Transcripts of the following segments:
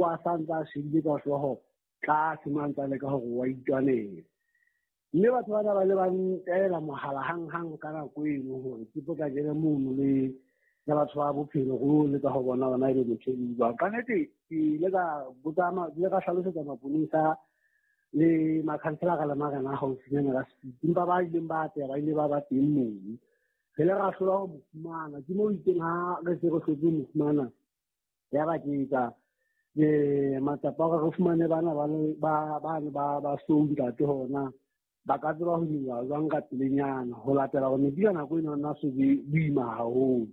A sa ntse a shebile ka hlooho tlase mo a ntse a leka hore wa itwanela. Mme batho bana ba le ba ntaela mohala hang-hang ka nako eno hore ke potlakele mono le le batho ba bophelo go leka ho bona hore na ebe motho e jwang. Ka nnete ke ile ka botsa ke ile ka hlalosetsa maponesa le makhanselara le marena a haufinyana ka speed, empa ba ileng ba atleha ba ile ba ba teng mono. Re ile ra hlola ho mo fumana, ke moo itseng ha re se re hlotse ho mo fumana, ya ba ke etsa matsapa a hore re fumane bana ba le ba ba ne ba ba sou ntate hona ba ka tseba ho nyoloha jwang ka pelenyana ho latela hore metsi ka nako eno nna so be boima haholo.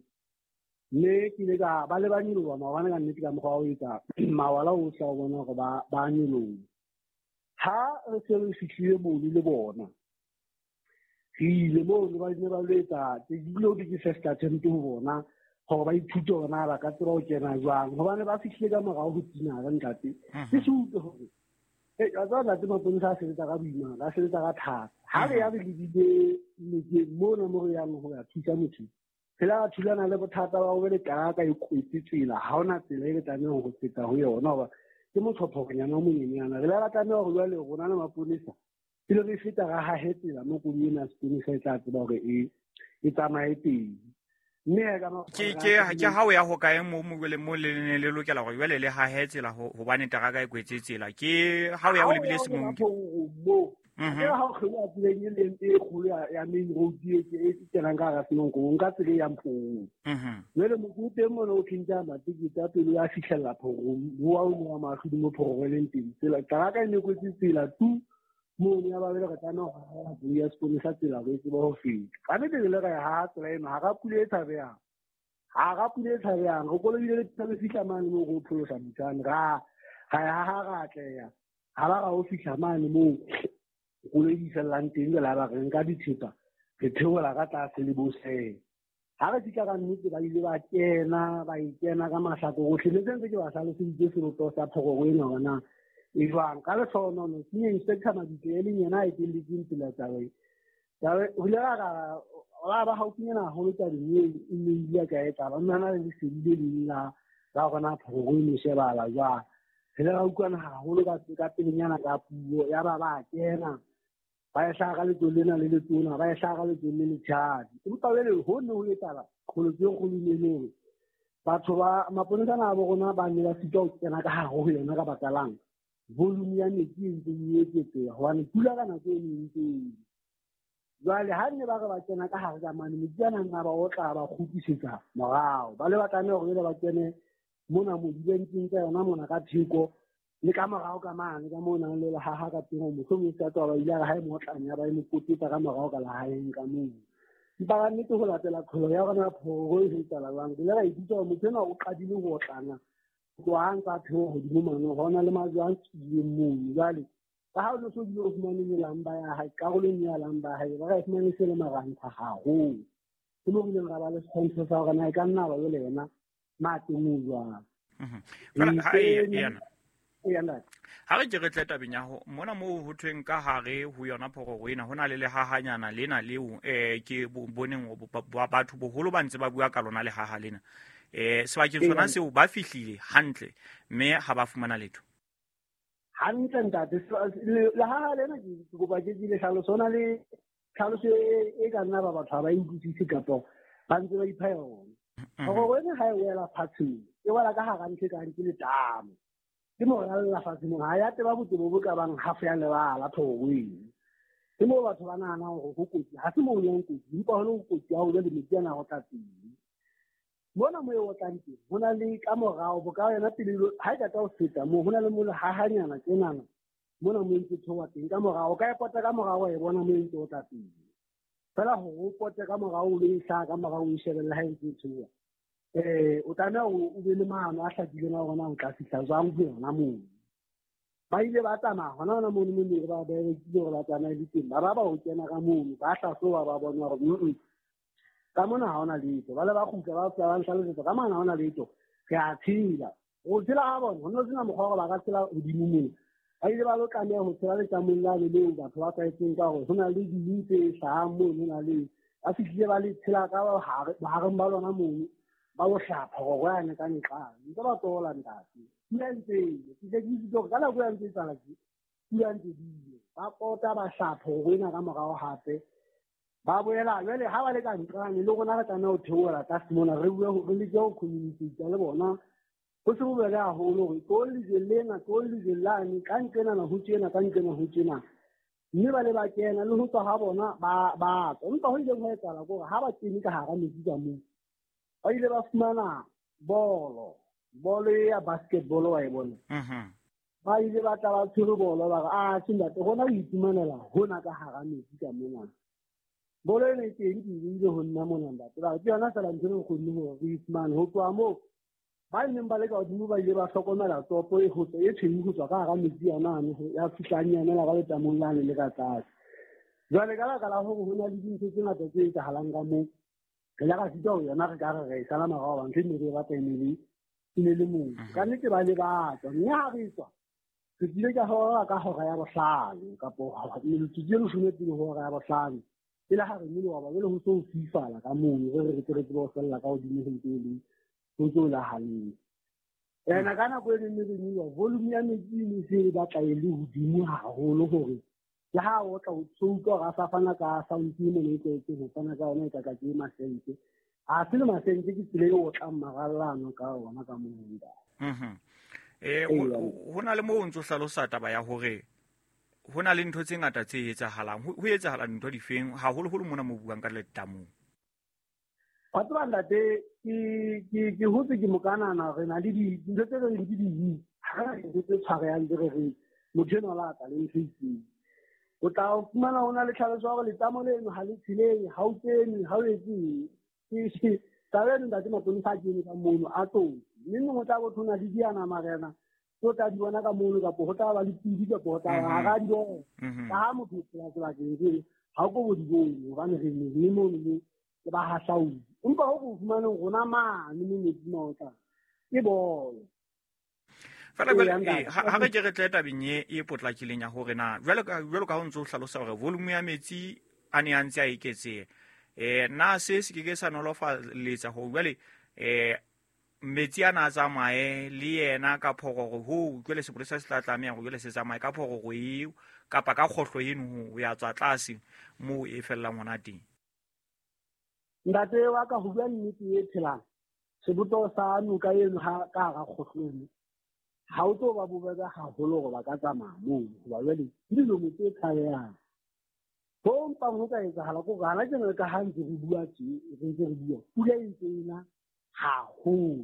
Mme ke ile ka ba le ba nyoloha maobane ka nnete ka mokgwa wa ho etsa mawala ohle a ho bona hore ba ba nyoloha. Ha re se re fihlile mono le bona, re ile mono ba ne ba lo etsa ebile ho thwe ke first attempt ho bona hore ba ithute hore na ba ka tseba ho kena jwang, hobane ba fihlile ka morao ho tinare ntate. Ke se utlwe hore wa tseba ntate maponesa a sebetsa ka boima, ba sebetsa ka thata. Ha re ya re lebile nokeng mona mo re yang ho ya thusa motho, re la thulana le bothata ba hore teraka e kwetse tsela, ha hona tsela e re tlamehang ho feta ho yona hoba ke motshophorenyana o monyenyana. Re la ra tlameha hore jwale rona le maponesa pele re feta ra hahe tsela mo koloi ena ya seponesa e tla tseba hore e e tsamaye teng. Mme he ka Ke ke ke ha o ya hokae mo mo jwale mo le ne le lokela hore jwale le hahe tsela hobane teraka e kwetse tsela. Ke ha o ya o lebile Semonke. Mo. Ke ha o kgeloha tseleng e leng e kgolo ya main road e e kenang ka hara Semonke, o nka tsela e yang Phorong. Jwale motho o teng mona o tjhentjha matekete a pele ya fihlella Phorong, wa o wa mahlodi mo Phorong e leng teng. Tsela teraka e ne kwetse tsela tu mono ya ba jwale re tlameha ho haha koloi ya seponesa tsela hore e tsebe ho feta. Ka nnete re ile ra e haha tsela eno hara pula e tshabehang. Hara pula e tshabehang, re kolobile le re fihla mane moo re o pholosa motho ra ra e haha ra atleha. Ha ba ra o fihla mane moo koloi di fellang teng, jwale ha ba re nka dithepa re theola ka tlase le bosele. Ha re fihla ka nnete ba ile ba kena, ba e kena ka mahlakore ohle. Ne sentse ke ba hlaloseditse sebopeho sa phororo ena hore na e jwang. Ka lehlohonolo senior inspector Mabitla e leng yena a etelletseng pele taba e. Taba ho ile ra ra ba haufinyana haholo tabeng eo e ne ile ka e taba. Mme hana le lesedi le leng la la hore na phororo e ne shebahala jwang. Re ile ra utlwana haholo ka ka pelenyana ka puo ya ba ba kena. Ba e hlaha ka letsoho lena le letona, ba e hlaha ka letsoho le letshadi. Empa jwale ho ne ho etsahala qholotso e kgolo e ne hore batho ba maponesa ana a bo rona ba ne ba sitwa ho kena ka hare ho yona ka baka lang volume ya metsi e ntse e eketseha hobane pula ka nako e neng ntse e. Jwale ha ne ba re ba kena ka hare ka mane, metsi a nang a ba otla ba kgutlisetsa morao. Ba le ba tlameha hore jwale ba kene mona mo dibentseng tsa yona mona ka theko le ka morao ka mane ka moo nang le lehaha ka teng, mohlomong se ka tswa ba ile a re ha e motlane ya ba e mo kotetsa ka morao ka lehaeng ka moo. Empa ka nnete ho latela tlholo ya rona phororo e etsahala jwang, re ile ra ipitsa hore motho enwa o qadile ho otlana tloha a ntse a theoha hodimo mane, ho na le majwe a tswileng mono. Jwale ka ha o ne so bile o fumane melamba ya hae, karolong ya lamba ya hae, ba ra e fumane se le marantha haholo. Ke moo re ileng ra ba le setshwantsho sa hore na e ka nna ba jwale yena mateng o jwang. Ha re ke re tle tabeng ya ho mona moo ho thweng ka hare ho yona phororo ena ho na le lehahanyana lena leo ke boneng batho boholo ba ntse ba bua ka lona lehaha lena. Sebakeng sona seo ba fihlile hantle mme ha ba fumana letho. Hantle ntate, lehaha lena ke kopa ke le hlaloso, ho na le tlhaloso e ka nna ba batho ha ba e utlwisise kapa ba ntse ba ipha yona. Phororo ena ha e wela fatshe, e wela ka hara ntho e kang ke letamo. Ke moralla fatshe moo, ha ya teba botebo bo ka bang half ya lebala phororo eno. Ke moo batho ba nahanang hore ho kotsi, ha se moo ho leng kotsi, empa ho le kotsi ha ho jwale metsi ana a ho tla teng. Mona moo e otlang teng, ho na le ka morao, bo ka yona pele ha e qeta ho feta moo, ho na le mo lehahanyana tjenana, mona moo e ntse theoha teng ka morao, o ka e pota ka morao wa e bona moo e ntse o tla teng. Feela hore o pote ka morao, o lo e hlaha ka morao, o e shebelle ha e ntse e theoha. O tlameha hore o be le maano a hlakileng a hore na o tla fihla jwang ho yona moo. Ba ile ba tsamaya hona hona mono mo ne ba berekile hore ba tsamaye le teng, ba ba ba ho kena ka mono, ba hlahloba ba bona hore ka mona ha hona letho. Ba le ba kgutla ba tla ba nhlalosetsa ka mona ha hona letho, re a tshela. Ho tshela ha bona, ho ne ho sena mokgwa wa hore ba ka tshela hodimo mona. Ba ile ba lo tlameha ho tshela letamong lane leo batho ba tlwaetseng ka hore ho na le ding tse hlahang mono, ho na le ba fihlile ba le tshela ka bohareng ba lona mono, ba lo hlapha hore yane ka nqane. Ntse ba tola ntate. Pula ntse ke ke itse hore ka nako ya ntse tsala ke pula ntse di ba pota ba hlapho ho ena ka morao hape ba boela jwale ha ba le ka nqane le rona re tlameha ho theohela tlase mona re bue re leke ho communicate le bona ho se bobebe haholo hore tlo lejweng lena tlo lejweng lane ka nqenana ho tjena ka nqena ho tjena mme ba le ba kena le ho tswa ha bona ba tswa. Empa ho ileng ho etsahala ke hore ha ba kene ka hara metsi ka moo ba ile ba fumana bolo ya basketball wa e bona. Ba ile ba tla ba tshwere bolo ba re a tjhe ntate rona re iphumanela hona ka hara metsi ka mona. Bolo ena e teng ke ile ho nna mona ntate ba re ke yona feela ntho e re kgonne hore re ifumane. Ho tloha moo ba neng ba le ka hodimo ba ile ba hlokomela tsopo e e tshweu ho tswa ka hara metsi a mane ya fihlang yanela ka letamong lane le ka tlase. Jwale ka baka la hore ho na le dintho tse ngata tse etsahalang ka moo re ile ra sitwa ho yona re ka re re e sala morao hoba ntho e ne re e batla e ne le moo. Ka nnete ba le ba tswa mme ha re tswa re tlile ka hora ka hora ya bohlano kapo metsotso e leshome pele ho hora ya bohlano e le ha re nyoloha ba jwale ho so ho fifala ka mono re re tsebe ho fella ka hodimo ho ntse le ho ntse ho le hantle. Ena ka nako e neng re nyoloha volume ya metsi e ne se e batla e le hodimo haholo hore le ha o tla o utlwa hore a sa fana ka sound e mona e tlwaetseng ho fana ka yona e ka ke masente. Ha se le masente ke tsela e otlang marallano ka ona ka moo. Ho na le moo o ntso hlalosa taba ya hore ho na le ntho tse ngata tse etsahalang. Ho etsahala dintho difeng haholoholo mona mo buang ka letamong? Wa tseba ntate ke hotse ke mokanana re na le dintho tse re reng ke di ha re dintho tse tshwarehang tse re reng motho enwa la tla le ntho e itseng. O tla fumana ho na le tlhaloso ya hore letamo leno ha le tsheleng ha o kene ha o etse ke taba eno ntate maponesa a kene ka mono a tlo mme mongwe o tla bo thona le diana marena tso tla di bona ka mono kapo ho tla ba le pidi kapo ho tla ba ha di bona ka ha motho o phela sebakeng seno ha o ko bo di bone hobane re ne mono mo le ba hahlaudi. Empa ho go fumaneng rona mane mo metsi maotla ke bolo. Fela jwale ha re ke re tle tabeng e potlakileng ya hore na jwalo ka ho ntso hlalosa hore volume ya metsi a ne a ntse a eketseha na se se ke ke sa nolofaletsa hore jwale metsi ana a tsamaye le yena ka phororo ho jwale sepolesa se tla tlameha hore jwale se tsamaye ka phororo eo kapa ka kgohlo eno ho ya tswa tlase moo e fellang hona teng. Ntate wa ka ho bua nnete e phelang sebopeho sa noka eno ha ka hara kgohlo eno ha o tlo ba bobebe haholo hore ba ka tsamaya moo hoba jwale ke dilomo tse tshabehang. Ho mpang ho ka etsahala ke hore hana tjena ka ha ntse re bua tje re ntse re bua pula e ntse ena haholo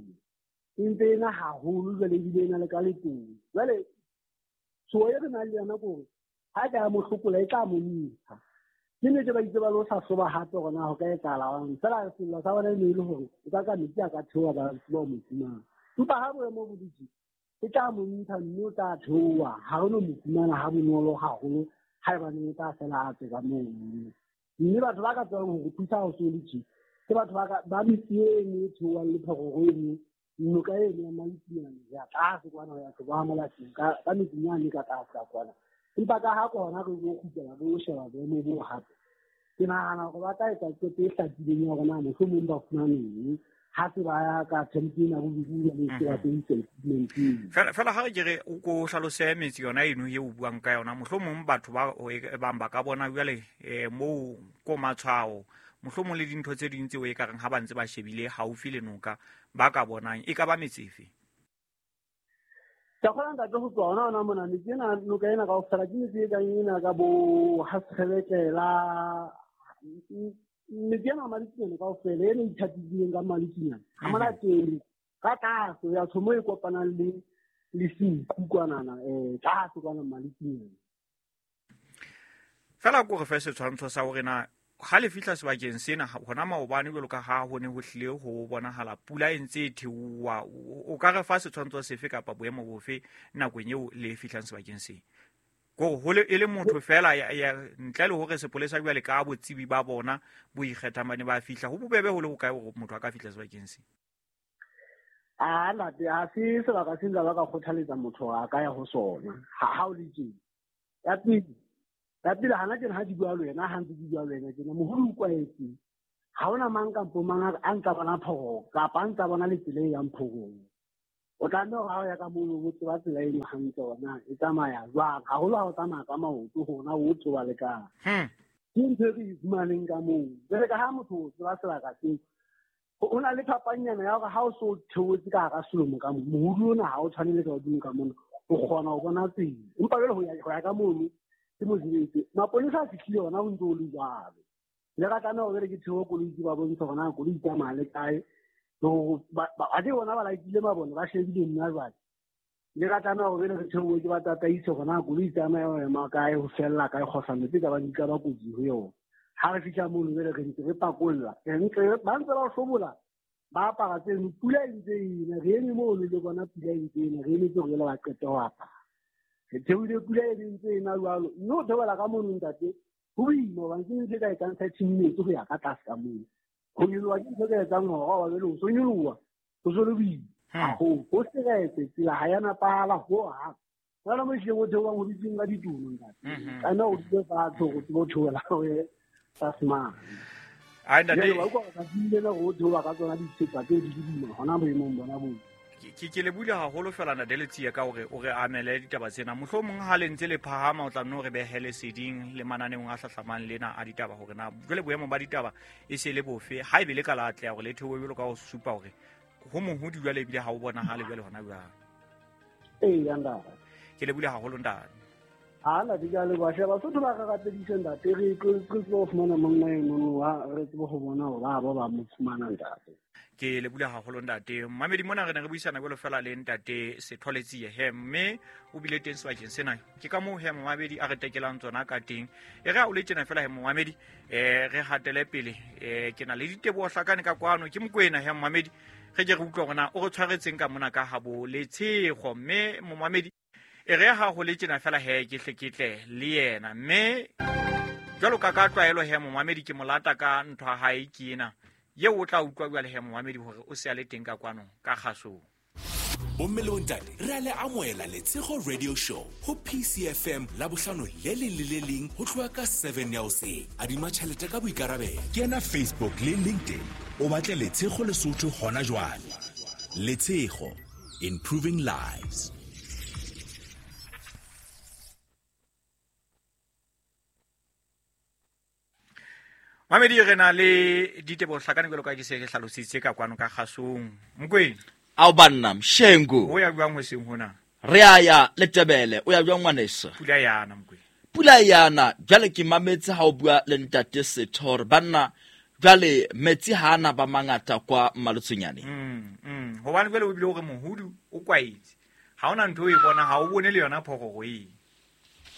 e ntse ena haholo jwale ebile ena le ka letolo. Jwale tshoho e re nang le yona ke hore ha ka ya mohlokola e tla mo ntsha. Ke nnete ba itse ba lo hlahloba hape hore na ho ka etsahala fela sello sa bona e ne e le hore o ka ka metsi a ka theoha ba tseba ho mo fumana. Empa ha boemo bo dutse e tla mo ntsha mme o tla theoha ha re no mo fumana ha bonolo haholo haebaneng o tla fela a tswe ka mono. Mme batho ba ka tsebang ho re thusa ho so le tje ke batho ba metsi eno e theohang le phororo eno noka eno ya Malitsinyane ya tlase kwana ho ya Tloba Molaseng ka metsinyane ka tlase ka kwana. Empa ka ha kona re lo kgutlela re lo sheba boemo bo hape ke nahana hore ba tla etsa qeto e hlakileng ya hore na mohlomong ba fumaneng ha se ba ya ka attempt ena bobedi le se ba sebedisa equipment. Fela ha re ke re o ko hlalose metsi yona eno e o buang ka yona mohlomong batho ba bang ba ka bona jwale moo ko matshwao mohlomong le dintho tse ding tseo e ka reng ha ba ntse ba shebile haufi le noka ba ka bonang e ka ba metsi efe? Ka kgona ntate ho tswa hona mona metsi ena noka ena kaofela ke metsi e kang ena ka bo Hasekgebetlela metsi ena Malitsinyane kaofela ena e ithatileng ka Malitsinyane ha Molateng ka tlase ya tshomo e kopanang le Senqu kwanana tlase kwana Malitsinyane. Fela ko re fe setshwantsho sa hore na ha le fihla sebakeng sena hona maobane jwalo ka ha ho ne ho hlile ho bonahala pula e ntse e theoha o ka re fa setshwantsho sefe kapa boemo bofe nakong eo le fihlang sebakeng se? Ko ho le e le motho fela ya ntle le hore sepolesa jwale ka botsebi ba bona bo ikgethang ba ne ba fihla ho bobebe ho le ho kae hore motho a ka fihla sebakeng se? A ntate ha se sebaka se nka ba ka kgothaletsa motho a ka ya ho sona ha o le tje. Ya pele hana tjena ha di bua le wena ha ntse di bua le wena tjena moholo o kwaetse ha hona mang kampo mang a ntsa bona phororo kapa a ntsa bona le tsela e yang phororo. O tlameha hore ha o ya ka mono o tseba tsela eno hantle hore na e tsamaya jwang, haholo ha o tsamaya ka maoto hore na o tloha le kae. Ke ntho e re e fumaneng ka moo. Jwale ka ha motho o tseba sebaka seo, ho na le phapanyana ya hore ha o so theohetse ka hara selomo ka moo, mohudu ona ha o tshwane le ka hodimo ka mona, o kgona ho bona tsela. Empa jwale ho ya ka mono ke mosebetsi. Maponesa a fihlile hona ho ntse ho le jwalo. Le ka tlameha hore ke theohe koloi ke ba bontshe hore na koloi e tsamaya le kae. Athe bona ba laetile mabone, ba shebile nna jwale. Le ka tlameha hore re theohe ke ba tataise hore na koloi e tsamaya ho ema kae, ho fella kae, kgohlano tse ka bang di ka ba kotsi ho yona. Ha re fihla mono jwale re ntse re pakolla, re ntse ba ntse ba hlobola, ba apara tseno, pula e ntse e na, re eme mono le bona pula e ntse e na, re emetse hore jwale ba qete ho apara. Re theohile pula e ntse e na jwalo, mme ho theohela ka mono ntate, ho boima hobane ke ntho e ka etsang 30 minutes ho ya ka tlase ka mono. Ho nyoloha ke ntho e ka etsang hora, wa jwale ho so nyoloha, ho so le boima haholo. Ho seretse, tsela ha ya nepahala hohang. Jwale mo ehlileng o theohang ho dutseng ka ditulo, ntate. Tlameha o dule fatshe hore o tsebe ho theohela ho ye tlase mane. Ai, ntate. Jwale wa utlwa hore tsatsing lena hore o theoha ka tsona dithepa tseo di le boima hona boemong bona boo. Ke lebule haholo fela ntate Letsie ka hore o re amele ditaba tsena. Mohlomong ha le ntse le phahama o tla nno re behe leseding le mananeong a hlahlamang lena a ditaba hore na jwale boemo ba ditaba e se le bofe, ha ebe le ka la atleha hore le theohe jwalo ka ho supa hore ho mohodi jwale ebile ha o bonahale jwale hona jwang. Ee, ntate. Ke lebule haholo ntate. Ha ntate, ke a leboha. Sheba, Basotho ba re rapedise ntate, re tlo fumana monna enono, ha re tsebe ho bona hore ba ba mo fumana ntate. Ke lebule haholo ntate. Mamedi mona re ne re buisana jwalo fela le ntate Setho Letsie he, mme o bile teng sebakeng sena. Ke ka moo he momamedi a re tekelang tsona ka teng. E re ha o le tjena fela he momamedi, re hatele pele. Ke na le diteboho hlakane ka kwano, ke Mokoena he momamedi. Re ke re utlwe hore na o re tshwaretseng ka mona ka habo Letshego. Mme momamedi, e re ha ho le tjena fela he ke hle ke tle le yena. Mme jwalo ka ka tlwaelo he momamedi, ke molata ka ntho ya hae ke ena. Eo o tla utlwa jwale he momamedi hore o se a le teng ka kwano ka kgasong. Bomme le bontate, re a le amohela Letshego Radio Show ho PCFM Labohlano le leng le le leng ho tloha ka 7 ya hoseng. Adima tjhelete ka boikarabelo. Kena Facebook le LinkedIn, o batle Letshego Lesotho hona jwale. Letshego, improving lives. Mamedi, re na le diteboho hlakane jwalo ka ke se ke hlalositse ka kwano ka kgasong. Mokoena. Ao banna, Mshengu. O ya jwang hoseng hona? Re a ya Letebele, o ya jwang ngwaneso? Pula yana, Mokoena. Pula yana, jwale ke mametse ha o bua le ntate Setho hore banna, jwale metsi ha ana ba mangata kwa Mmaletsonyane. Hobane jwale o bile o re mohudu o kwaetse. Ha hona ntho e bona, ha o bone le yona phororo e.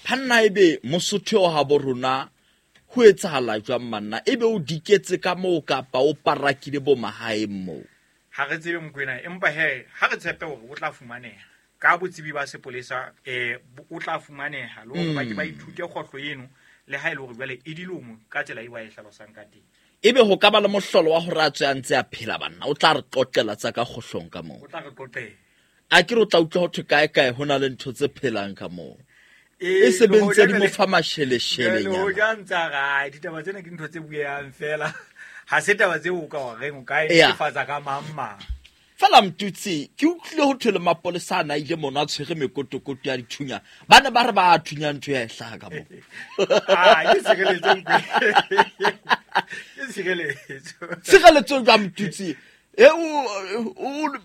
Phanna ebe Mosotho o habo rona ho etsahala jwang manna? Ebe o diketse ka moo kapa o parakile bo mahaeng moo? Ha re tsebe Mokoena, empa he ha re tshepe hore o tla fumaneha. Ka botsebi ba sepolesa, o tla fumaneha le hore ba ke ba ithute kgohlo eno, le ha e le hore jwale e dilomo ka tsela eo ba e hlalosang ka teng. Ebe ho ka ba le mohlolo wa hore a tswe a ntse a phela banna, o tla re qoqela tsa ka kgohlong ka moo. O tla re qoqela. A ke re o tla utlwa ho thwe kae kae ho na le ntho tse phelang ka moo. Ee, E se be le ntse di hoja mo fa masheleshele le nyana. hoja ntse a re, ai, ditaba tsena ke ntho tse bueang fela. Ha se taba tseo o ka wa reng, o ka e Eya. netefatsa ka mang mang. Fela Mtutsi, ke utlwile ho thwe le mapolesa a na ile mono a tshwere mekotokoto ya dithunya. Ba ne ba re ba a thunya ntho ya e hlaha ka moo. Ah, ke tshireletso, Nkwe. Ke tshireletso. Tshireletso jwang, Mtutsi? E,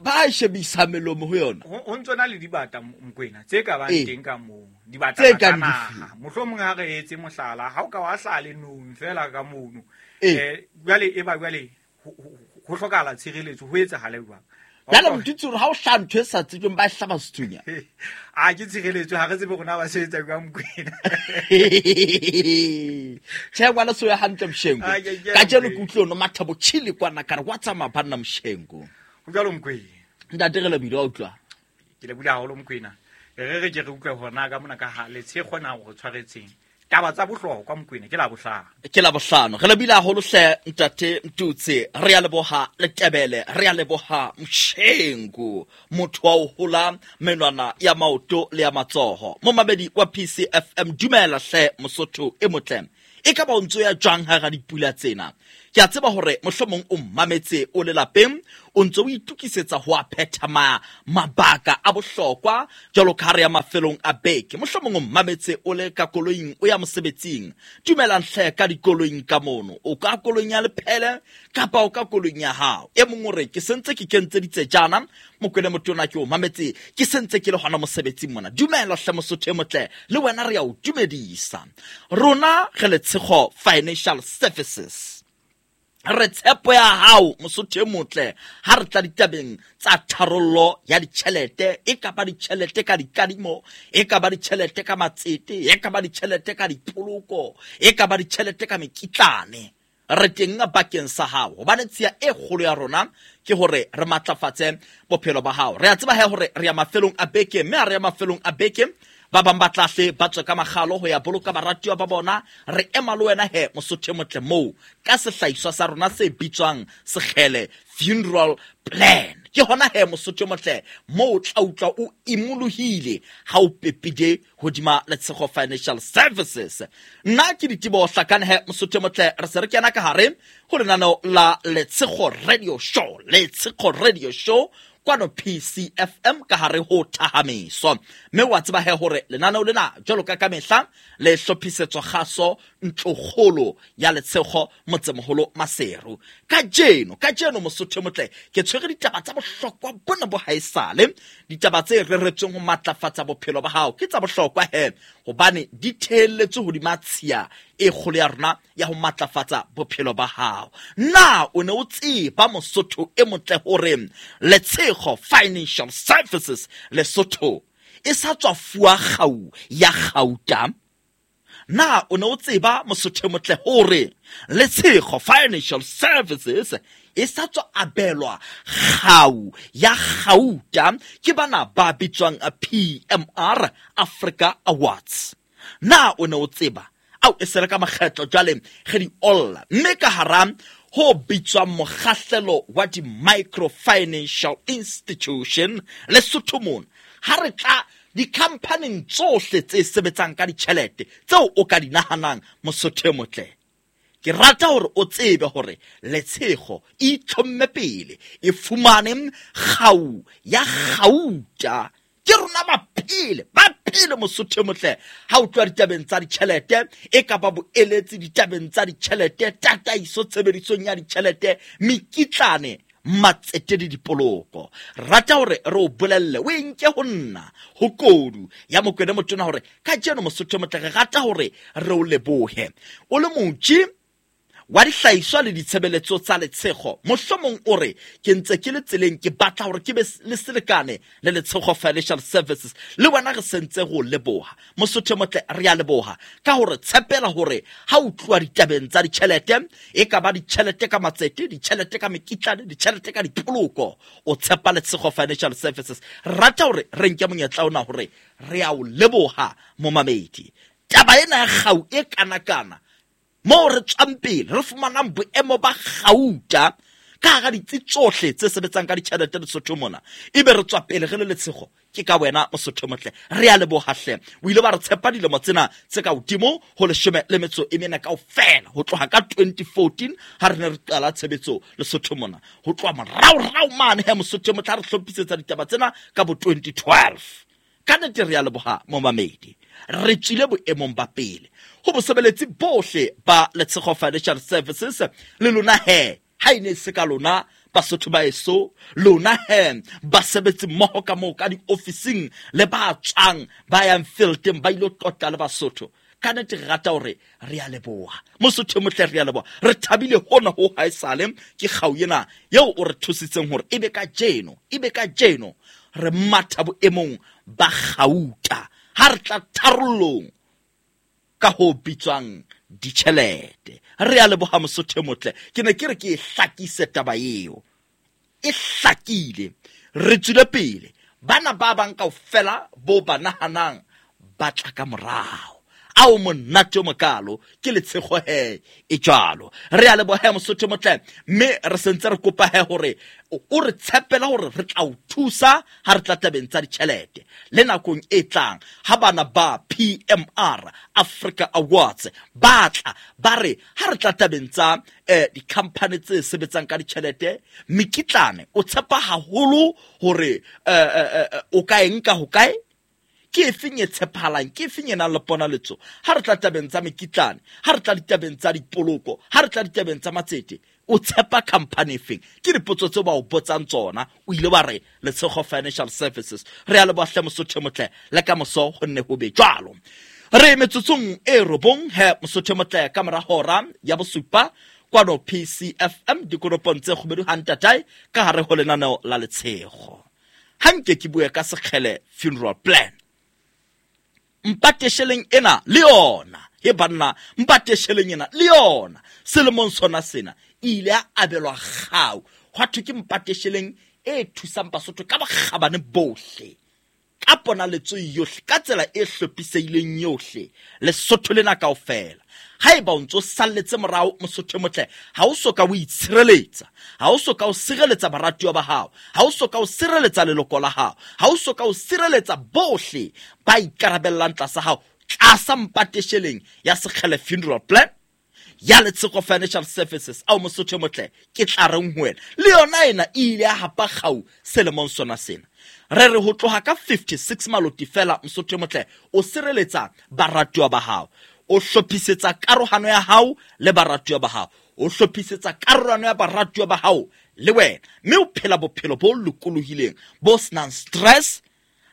ba shebisa melomo ho yona. Ho ntso na le dibata, Mokoena, tse ka bang Ee. teng ka moo. Dibata Tse tsa kang naha. dife? Mohlomong ha re etse mohlala, ha o ka wa hlaha lenong fela ka mono. Ee. Jwale e ba jwale ho hlokahala tshireletso, ho etsahale jwang? Jwale Mtutsi hore ha o hlaha ntho e sa tsejweng, ba e hlaba sethunya. A ke tshireletso, ha re tsebe rona ba sebetsa jwang, Mokoena. Tjhe, ngwana so ya hantle, Mshengu. A, ke, ke, Kajeno ke Mokoena. utlwe ono Mathabo Chili kwana ka re, wa tsamaya banna, Mshengu. Ho jwalo, Mokoena. Ntate, re lebile, wa utlwa? Ke lebile haholo, Mokoena. Re re ke re utlwe hore na ka mona ka ha Letshego na o re tshwaretseng. Taba tsa bohlokwa, Mokoena, ke Labohlano. Ke Labohlano. Re lebile haholo hle, ntate Mtutsi. Re a leboha Letebele, re a leboha Mshengu, motho wa ho hola menwana ya maoto le ya matsoho. Momamedi wa PCFM, dumela hle Mosotho e motle. E ka ba o ntso ya jwang hara dipula tsena? Ke a tseba hore mohlomong o mmametse o le lapeng, o ntse o itokisetsa ho a phetha mabaka a bohlokwa jwalo ka ha re ya mafelong a beke. Mohlomong o mmametse o le ka koloing o ya mosebetsing. Dumelang hle ka dikoloing ka mono. O ka koloing ya lephele kapa o ka koloing ya hao. E mong o re ke sentse ke kentse ditsejana, Mokwele motona ke o mametse ke sentse ke le hona mosebetsing mona. Dumela hle Mosotho e motle, le wena re ya o dumedisa. Rona re Letshego Financial Services. Re tshepo ya hao Mosotho e motle ha re tla ditabeng tsa tharollo ya ditjhelete, e ka ba ditjhelete ka dikadimo, e ka ba ditjhelete ka matsete, e ka ba ditjhelete ka dipoloko, e ka ba ditjhelete ka mekitlane. Re teng bakeng sa hao, hobane tshiya e kgolo ya rona ke hore re matlafatse bophelo ba hao. Re a tseba he hore re ya mafelong a beke, mme ha re ya mafelong a beke ba bang ba tlahle ba tswe ka makgalo ho ya boloka baratuwa ba bona. Re ema le wena he Mosotho e motle moo ka sehlahiswa sa rona se bitswang Sekgele Funeral Plan. Ke hona he Mosotho e motle moo o tla utlwa o imolohile ha o pepile hodima Letshego Financial Services. Nna ke Diteboho Hlakane he Mosotho e motle, re se re kena ka hare ho lenaneo la Letshego Radio Show. Letshego Radio Show kwano PCFM ka hare ho Thahamiso. Mme wa tseba he hore lenaneo lena jwalo ka kamehla le hlophisetswa kgaso ntlokgolo ya Letshego motsemoholo Maseru. Kajeno Mosotho e motle ke tshwere ditaba tsa bohlokwa bona bo haesale, ditaba tse reretsweng ho matlafatsa bophelo ba hao. Ke tsa bohlokwa he hobane di theelletswe hodima tshiya e kgolo ya rona ya ho matlafatsa bophelo ba hao. Na o ne o tseba Mosotho e motle hore Letshego Financial Services Lesotho e sa tswa fuwa kgau ya kgauta? Na o ne o tseba Mosotho e motle hore Letshego Financial Services e sa tswa abelwa kgau ya kgauta ke bana ba bitswang PMR Africa Awards? Na o ne o tseba? Ao e se re ka makgetlo jwale re di olla, mme ka hara ho bitswang mokgahlelo wa di-microfinancial institution Lesotho mona, ha re tla di-company tsohle tse sebetsang ka ditjhelete tseo o ka di nahanang Mosotho e motle, ke rata hore o tsebe hore Letshego e itlhomme pele e fumane kgau ya kgauta. Ke rona ba pele Mosotho e motle ha o tloha ditabeng tsa ditjhelete, e ka ba boeletsi ditabeng tsa ditjhelete, tataiso tshebedisong ya ditjhelete, mekitlane, matsete le dipoloko. Rata hore re o bolelle, o e nke ho nna ho kodu ya Mokwena motona hore kajeno Mosotho e motle re rata hore re o lebohe. O le motji wa dihlahiswa le ditshebeletso tsa Letshego, mohlomong o re ke ntse ke le tseleng, ke batla hore ke be le selekane le Letshego Financial Services. Le wena re sentse go leboha Mosotho e motle, re a leboha ka hore tshepela hore ha o tluwa ditabeng tsa ditjhelete, e ka ba ditjhelete ka matsete, ditjhelete ka mekitlane, ditjhelete ka dipoloko, o tshepa Letshego Financial Services. Re rata hore re nke monyetla ona hore re a o leboha momamedi. Taba ena ya kgau e kanakana moo re tswang pele re fumanang boemo ba kgauta ka hara ditsi tsohle tse sebetsang ka ditjhelete Lesotho mona, ebe re tswa pele re le Letshego. Ke ka wena Mosotho motle, re a leboha hle. O ile ba re tshepa dilemo tsena tse ka hodimo ho 14 kaofela, ho tloha ka 2014 ha re ne re qala tshebetso Lesotho mona, ho tloha moraorao mane he Mosotho motle ha re hlophisetsa ditaba tsena ka bo 2012. Ka nnete re a leboha momamedi, re tswile boemong ba pele ho bosebeletsi bohle ba Letshego Financial Services. Le lona he, ha e ne se ka lona Basotho ba eso, lona he basebetsi mmoho ka moo ka diofising le ba tswang ba yang fieldeng ba ilo tlotla le Basotho, ka nnete re rata hore re a leboha Mosotho e motle, re a leboha. Re thabile hona ho haesale ke kgau ena eo o re thusitseng hore ebe kajeno re matha boemong ba kgauta ha re tla tharollong ka ho bitswang ditjhelete. Re a leboha Mosotho e motle. Ke ne ke re ke e hlakise taba eo, e hlakile. Re tswile pele, bana ba bang kaofela bo ba nahanang ba tla ka morao. Ao monate o mokalo ke letshego he e jwalo. Re a leboha Mosotho motle, mme re sentse re kopa he hore o re tshepela hore re tla o thusa ha re tla tabeng tsa ditjhelete. Le nakong e tlang ha bana ba PMR Africa Awards ba tla ba re ha re tla tabeng tsa di-company tse sebetsang ka ditjhelete, mekitlane o tshepa haholo hore o ka e nka hokae, ke efeng e tshepahalang, ke efeng e nang le ponaletso. Ha re tla tabeng tsa mekitlane, ha re tla ditabeng tsa dipoloko, ha re tla ditabeng tsa matsete, o tshepa company efeng? Ke dipotso tseo ba o botsang tsona. O ile wa re Letshego Financial Services. Re a leboha hle Mosotho motle, le ka moso ho nne ho be jwalo. Re metsotsong e 9 he Mosotho motle ka mora hora ya 7 kwano PCFM dikoropong tse kgubedu ha ntatae ka hare ho lenaneo la Letshego. Ha nke ke bue ka Sekgele Funeral Plan. Mpatesheleng ena le yona, he banna, mpatesheleng ena le yona selemong sona sena e ile ya abelwa kgau. Hwa thwe ke mpatesheleng e thusang Basotho ka bokgabane bohle, ka ponaletso yohle, ka tsela e hlophisehileng yohle, Lesotho lena kaofela. Haeba o ntso salletse morao Mosotho motle, ha o so ka o itshireletsa, ha o so ka o sireletsa baratuwa ba hao, ha o so ka o sireletsa leloko la hao, ha o so ka o sireletsa bohle ba ikarabellang tlasa hao, tlasa mpatesheleng ya Sekgele Funeral Plan ya Letshego Financial Services. Ao Mosotho motle, ke tla reng ho wena? Le yona ena e ile ya hapa kgau selemong sona sena. Re re ho tloha ka 56 maloti fela Mosotho motle, o sireletsa baratuwa ba hao, o hlophisetsa karohano ya hao le baratuwa ba hao, o hlophisetsa karohano ya baratuwa ba hao le wena, mme o phela bophelo bo lokolohileng bo senang stress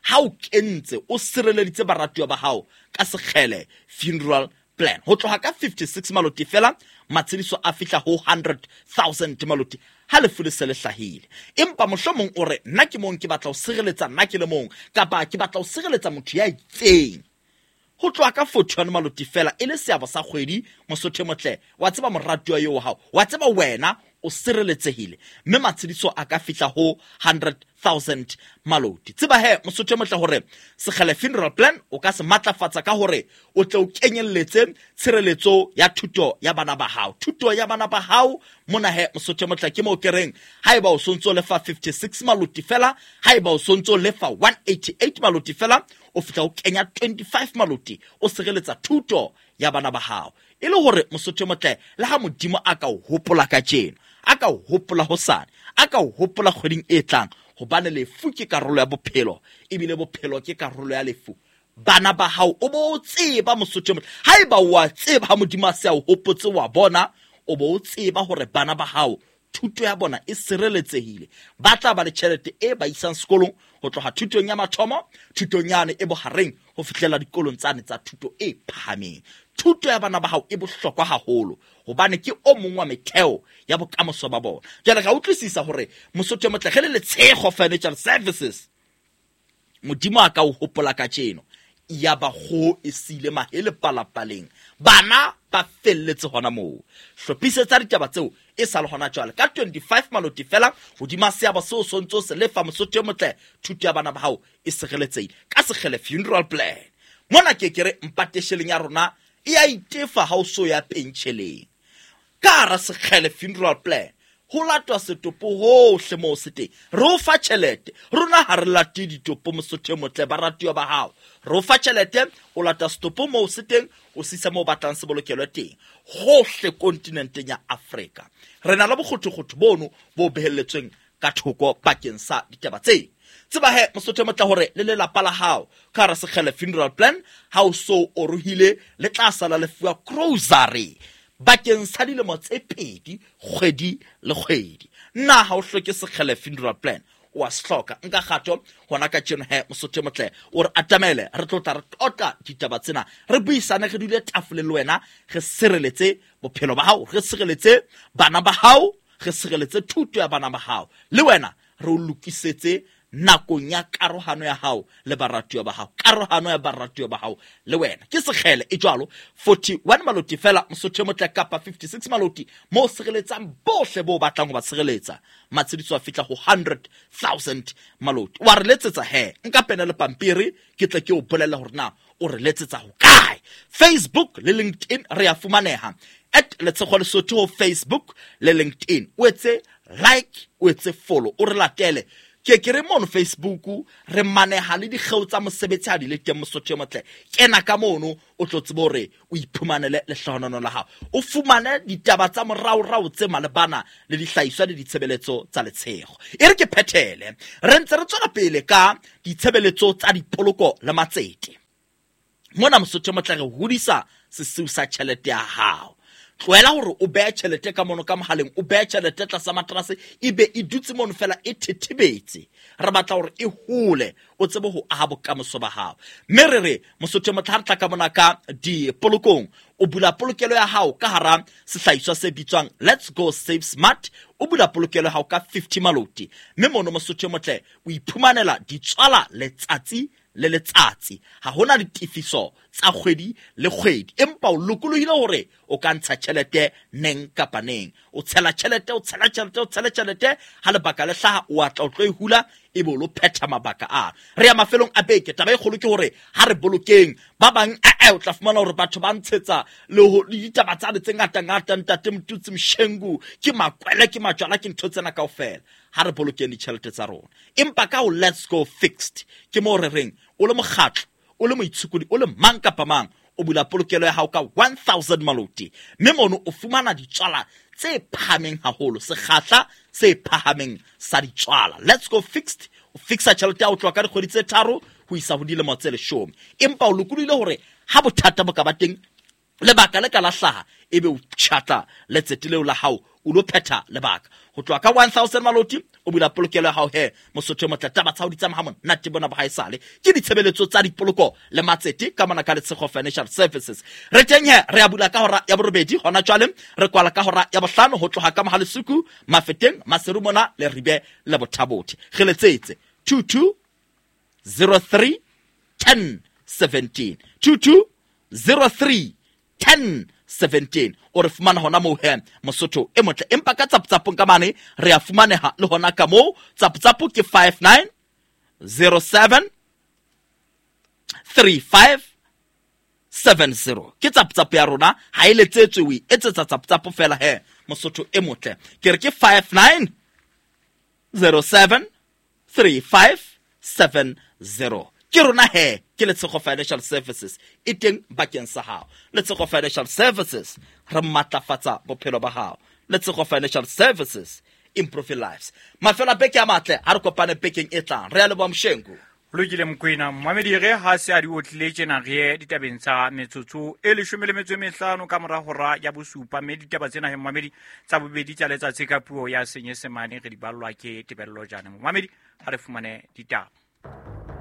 ha o kentse o sireleditse baratuwa ba hao ka Sekgele Funeral Plan. Ho tloha ka 56 maloti fela, matshediso a fihla ho 100,000 maloti ha lefu le se le hlahile. Empa mohlomong o re nna ke mong ke batla ho sireletsa nna ke le mong, kapa ke batla ho sireletsa motho ya itseng. Ho tloha ka 41 maloti fela e le seabo sa kgwedi Mosotho motle, wa tseba moratuwa eo wa hao, wa tseba wena o sireletsehile, mme matshediso a ka fihla ho 100,000 maloti. Tseba he Mosotho motle hore Sekgele Funeral Plan o ka se matlafatsa ka hore o tle o kenyelletse tshireletso ya thuto ya bana ba hao. Thuto ya bana ba hao mona he Mosotho motle ke moo ke reng haeba o sontso lefa 56 maloti fela, haeba o sontso lefa 188 maloti fela, o fihla o kenya 25 maloti, o sireletsa thuto ya bana ba hao. E le hore Mosotho motle, le ha Modimo a ka o hopola kajeno, a ka o hopola hosane, a ka o hopola kgweding e tlang, hobane lefu ke karolo ya bophelo, ebile bophelo ke karolo ya lefu. Bana ba hao o bo tseba Mosotho motle, haeba wa tseba ha Modimo a se a o hopotse wa bona, o bo tseba hore bana ba hao thuto ya bona e sireletsehile, ba tla ba le tjhelete e ba isang sekolong ho tloha thutong ya mathomo, thutong yane e bohareng ho fihlela dikolong tsane tsa thuto e phahameng. Thuto ya bana ba hao e bohlokwa haholo hobane ke o mong wa metheo ya bokamoso ba bona. Jwale ka utlwisisa hore Mosotho motle re le Letshego Financial Services, Modimo a ka o hopola kajeno, ya ba kgoho e siile mahele palapaleng, bana ba felletse hona moo. Hlophisetsa ditaba tseo e sa le hona jwale ka 25 maloti fela hodima seabo seo sontso se lefa Mosotho motle, thuto ya bana ba hao e sireletsehile ka Sekgele Funeral Plan. Mona ke ke re mpatesheleng ya rona e a itefa ha o so ya pentjheleng. Ka hara Sekgele Funeral Plan ho latwa setopo hohle moo se teng, re o fa tjhelete. Rona ha re late ditopo Mosotho motle, baratuwa ba hao, re o fa tjhelete, o lata setopo moo se teng, o sisa moo batlang se bolokelwe teng, hohle kontinenteng ya Afrika. Re na le bokgothokgotho bono bo behelletsweng ka thoko bakeng sa ditaba tse. Tseba he Mosotho motle hore le lelapa la hao ka hara Sekgele Funeral Plan ha o so orohile, le tla sala le fuwa grocery bakeng sa dilemo tse 2 kgwedi le kgwedi. Nna ha o hloke Sekgele Funeral Plan, o a se hloka. Nka kgato hona ka tjeno he Mosotho motle, o re atamele, re tlo tla re tlotla ditaba tsena, re buisane, re dule tafole le wena, re sireletse bophelo ba hao, re sireletse bana ba hao, re sireletse thuto ya bana ba hao, le wena re o lokisetse nakong ya karohano ya hao le baratuwa ba hao, karohano ya baratuwa ba hao le wena. Ke Sekgele e jwalo, 41 maloti fela Mosotho motle, kapa 56 maloti mo sireletsang bohle bo batlang ho ba sireletsa. Matshediso a fihla ho 100,000 maloti. Wa re letsetsa he, nka pene le pampiri ke tle ke o bolelle hore na o re letsetsa ho kae. Facebook le LinkedIn re a fumaneha at Letshego Lesotho ho Facebook le LinkedIn. O etse like, o etse follow, o re latele. Ke re mono Facebook re maneha le dikgeo tsa mosebetsi ha di le teng, Mosotho e motle. Kena ka mono o tlo tsebe hore o iphumanele lehlohonolo la hao, o fumane ditaba tsa moraorao tse malebana le dihlahiswa le ditshebeletso tsa Letshego. E re ke phethele, re ntse re tswela pele ka ditshebeletso tsa dipoloko le matsete. Mona Mosotho e motle re hodisa sesiu sa tjhelete ya hao. Tlohela hore o behe tjhelete ka mono ka mohaleng, o behe tjhelete tlasa materase, ebe e dutse mono fela e thethebetse. Re batla hore e hole, o tsebe ho aha bokamoso ba hao. Mme re re Mosotho e motle ha re tla ka mona ka dipolokong, o bula polokelo ya hao ka hara sehlahiswa se bitswang Let's Go Save Smart. O bula polokelo ya hao ka 50 maloti, mme mono Mosotho e motle o iphumanela ditswala letsatsi le letsatsi. Ha hona ditefiso tsa kgwedi le kgwedi, empa o lokolohile hore o ka ntsha tjhelete neng kapa neng. O tshela tjhelete, o tshela tjhelete, o tshela tjhelete, ha lebaka le hlaha o atla o tlo e hula, ebe o lo phetha mabaka a. Re ya mafelong a beke. Taba e kgolo ke hore ha re bolokeng. Ba bang o tla fumana hore batho ba ntshetsa le ho le ditaba tsane tse ngata-ngata, ntate Motutsi Mshengu, ke makwele, ke majwala, ke ntho tsena kaofela. Ha re bolokeng ditjhelete tsa rona. Empa ka ho Let's Go Fixed, ke moo re reng o le mokgatlo, o le moitshokodi, o le mang kapa mang, o bula polokelo ya hao ka 1000 maloti, mme mono o fumana ditswala tse phahameng haholo, sekgahla se phahameng sa ditswala. Let's Go Fixed, o fixa tjhelete ya ho tloha ka dikgwedi tse 3 ho isa ho dilemo tse 10. Empa o lokolohile hore ha bothata bo ka ba teng, lebaka le ka la hlaha, ebe o tjhatla letsete leo la hao, o lo phetha lebaka. Ho tloha ka 1000 maloti, o bula polokelo ya hao he, Mosotho e motle, taba tsa hao di tsamaya ha monate bona bo haesale. Ke ditshebeletso tsa dipoloko le matsete ka mona ka Letshego Financial Services. Re teng he, re a bula ka hora ya 8 hona jwale, re kwala ka hora ya 5 ho tloha ka Mohalesuku, Mafeteng, Maseru mona le Ribe le Bothabothe. Re letsetse 22 03 10 17. 22 03 10 17. O re fumana hona moo he, Mosotho e motle. Empa ka tsaptsapong ka mane re a fumaneha le hona ka moo. Tsaptsapo ke 59 07 35 70. Ke tsaptsapo ya rona, ha e letsetswe, o e etsetsa tsaptsapo fela he, Mosotho e motle. Ke re ke 59 07 35 70. Ke rona he, ke Letshego Financial Services e teng bakeng sa hao. Letshego Financial Services, re matlafatsa bophelo ba hao. Letshego Financial Services, improve your lives. Mafelo a beke a matle, ha re kopane bekeng e tlang. Re a leboha Mshengu. Lokile Mokoena, momamedi re ha se a di otlile tjena re ye ditabeng tsa metsotso e 15 ka mora hora ya 7, mme ditaba tsena he momamedi tsa bobedi tsa letsatsi ka puo ya Senyesemane re di ballwa ke Tebello Jane. Momamedi, ha re fumane ditaba.